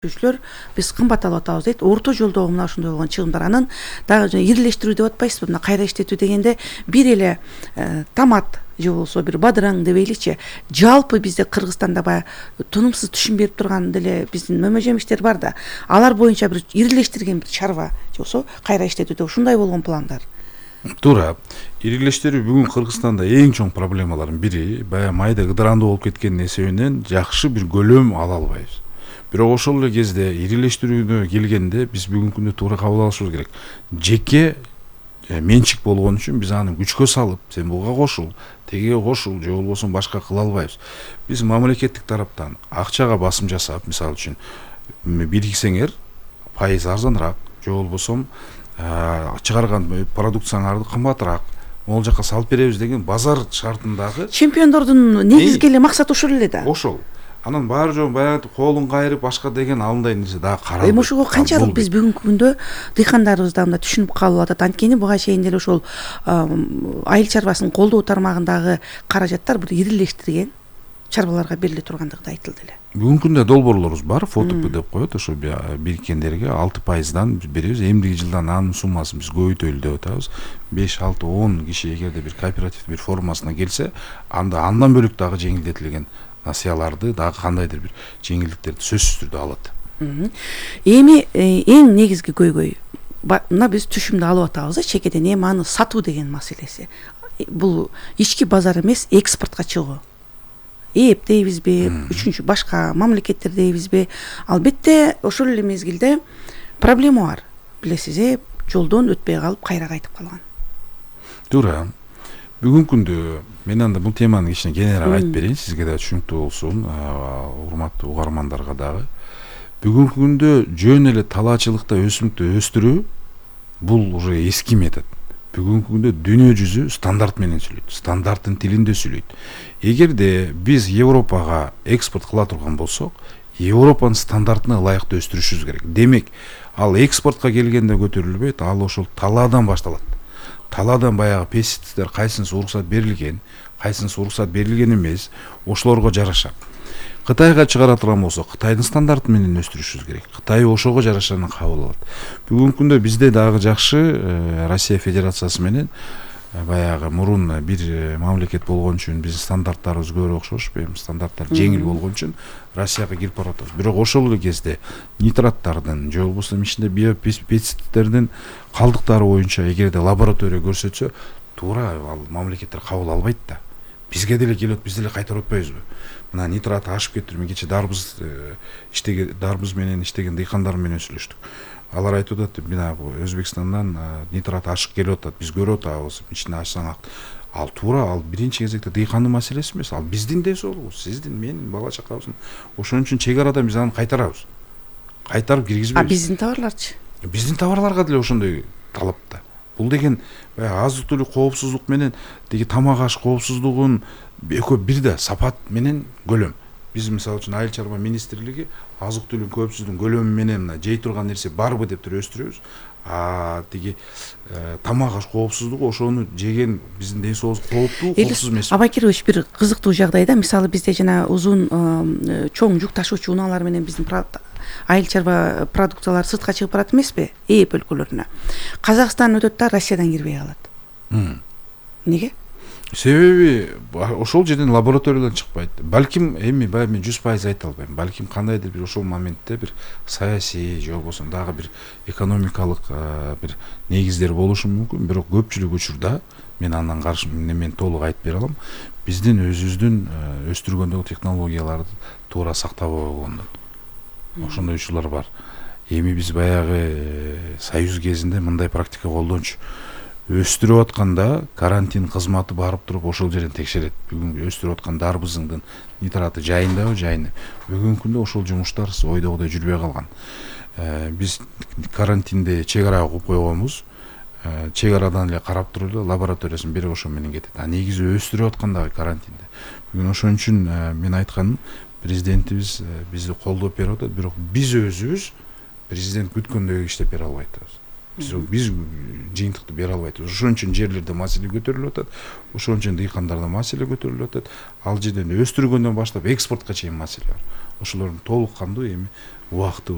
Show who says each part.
Speaker 1: Биз кымбат алып атабыз дейт. Орто жолдогу мына ошондой болгон чыгымдар. Анан дагы ирилештирүү деп атпайсызбы? Мына кайра иштетүү дегенде бир эле томат же болбосо бир бадыраң дебейличи. Жалпы бизде Кыргызстанда баягы тынымсыз түшүм берип турган деле биздин мөмө жемиштер бар да. Алар боюнча бир ирилештирген бир чарба же болбосо кайра иштетүүдө ушундай болгон пландар.
Speaker 2: Туура. Ирилештирүү бүгүн Кыргызстанда эң чоң проблемалардын бири. Баягы майда ыдырандуу болуп кеткен нерседен жакшы бир көлөм ала албайбыз. Бирок ошол эле кезде ирилештирүүгө келгенде биз бүгүнкү күндө туура кабыл алышыбыз керек. Жеке менчик болгон үчүн биз аны күчкө салып, сен буга кошул, тегиге кошул же болбосо башка кыла албайбыз. Биз мамлекеттик тараптан акчага басым жасап, мисалы үчүн бириксеңер пайыз арзаныраак же болбосо чыгарган продукцияңарды кымбатыраак могул жака салып беребиз деген базар шартындагы
Speaker 1: чемпиондордун негизги эле максаты ошол эле да.
Speaker 2: Ошол. Анан баары жок баягы колун кайрып башка деген алындай нерсе дагы каралбайт.
Speaker 1: Ошого канчалык биз бүгүнкү күндө дыйкандарыбыз да мында түшүнүп калып атат. Анткени буга чейин деле ошол айыл чарбасын колдоо тармагындагы каражаттар бир ирилештирген чарбаларга бериле тургандыгы да айтылды эле.
Speaker 2: Бүгүнкү күндө долбоорлорубуз бар, фотоп деп коет, ошо бириккендерге 6%дан беребиз. Эмдиги жылдан анын суммасын биз көбөйтөлү деп атабыз. 5, 6, 10 киши эгерде бир кооператив бир формасына келсе, анда андан бөлүк дагы жеңилдетилген насыяларды дагы кандайдыр бир жеңилдиктерди сөзсүз түрдө алат.
Speaker 1: Эми эң негизги көйгөй мына биз түшүмдү алып атабыз, чекеден эми аны сатуу деген маселеси. Бул ички базар эмес, экспортко чыгуу. Эп дейбизби, үчүнчү башка мамлекеттер дейбизби? Албетте ошол эле мезгилде проблема бар. Билесиз, жолдон өтпөй калып кайра кайтып калган.
Speaker 2: Туура. Бүгүнкү күндө мен анда бул теманы кичине кененирээк айтып берейин, сизге да түшүнүктүү болсун, урматтуу угармандарга дагы. Бүгүнкү күндө жөн эле талаачылыкта өсүмдүктү өстүрүү бул уже эски метод. Бүгүнкү күндө дүйнө жүзү стандарт менен сүйлөйт, стандарттын тилинде сүйлөйт. Эгерде биз Европага экспорт кыла турган болсок, Европанын стандартына ылайыктуу өстүрүшүбүз керек. Демек, ал экспортко келгенде көтөрүлбөйт, ал ошол талаадан башталат. Талаадан баягы пестициддер кайсынысы уруксат берилген, кайсынысы уруксат берилген эмес, ошолорго жараша. Кытайга чыгара турган болсо, Кытайдын стандарты менен өстүрүшүбүз керек. Кытай ошого жараша кабыл алат. Бүгүнкү күндө бизде дагы жакшы Россия Федерациясы менен баягы мурун бир мамлекет болгон үчүн биздин стандарттарыбыз көбүрөөк окшош, стандарттар жеңил болгон үчүн Россияга кирип баратабыз. Бирок ошол эле кезде нитраттардын же болбосо ичинде биопестициддердин калдыктары боюнча эгерде лаборатория көрсөтсө, туура ал мамлекеттер кабыл албайт да. Бизге деле келет, биз деле кайтарып атпайбызбы? Мына нитрат ашып кетти. Мен кече дарбыз менен иштеген дыйкандар менен сүйлөштүк. Алар айтып атат, мына Өзбекстандан нитрат ашык келип атат, биз көрүп атабыз, ичине ачсаң ал туура, ал биринчи кезекте дыйкандын маселеси эмес, ал биздин десоолугубуз, сиздин, менин, бала чакабыздын. Ошон үчүн чек арадан биз аны кайтарабыз. Кайтарып киргизбейбиз.
Speaker 1: Биздин товарларчы?
Speaker 2: Биздин товарларга деле ошондой талап да. Бул деген азык-түлүк коопсуздук менен деги тамак аш коопсуздугун экөө бир да, сапат менен көлөм. Биз мисалы үчүн айыл чарба министрлиги азык-түлүк коопсуздугун көлөмү менен мына жей турган нерсе барбы деп туруп өстүрөбүз. Тиги тамак аш коопсуздугу ошону жеген биздин ден соолугубузга кооптуу, коопсуз эмес.
Speaker 1: Абакирович, бир кызыктуу жагдайда, мисалы бизде жана узун чоң жүк ташуучу унаалар менен биздин айыл чарба продукциялары сыртка чыгып барат эмеспи? Эп өлкөлөрүнө. Казакстан өтөт да Россиядан кирбей калат. Неге?
Speaker 2: Себеби ошол жерден лабораториядан чыкпайт. Балким эми баягы мен 100% айта албайм. Балким кандайдыр бир ошол моментте бир саясий же болбосо дагы бир экономикалык бир негиздер болушу мүмкүн. Бирок көпчүлүк учурда мен андан каршы мен толук айтып бере алам. Биздин өзүбүздүн өстүргөндөгү технологияларды туура сактабай койгондон. Ошондой учурлар бар. Эми биз баягы союз кезинде мындай практика колдончу. Өстүрүп атканда карантин кызматы барып туруп ошол жерден текшерет. Бүгүн өстүрүп аткан дарбызыңдын нитраты жайындабы, жайында. Бүгүнкү күндө ошол жумуштар ойдогудай жүрбөй калган. Биз карантинде чек ара коюп койгонбуз. Чек арадан эле карап туруп эле лабораториясын берип ошо менен кетет. Негизи өстүрүп аткандагы карантинде. Бүгүн ошон үчүн мен айтканым, президентибиз бизди колдоп берип атат, бирок биз өзүбүз президент күткөндөй иштеп бере албай атабыз. Биз жыйынтыкты бере албайбыз. Ошон үчүн жерлерде маселе көтөрүлүп атат. Ошон үчүн дыйкандарда маселе көтөрүлүп атат. Ал жерден өстүргөндөн баштап экспортко чейин маселе бар. Ошолордун толук кандуу эми убакыты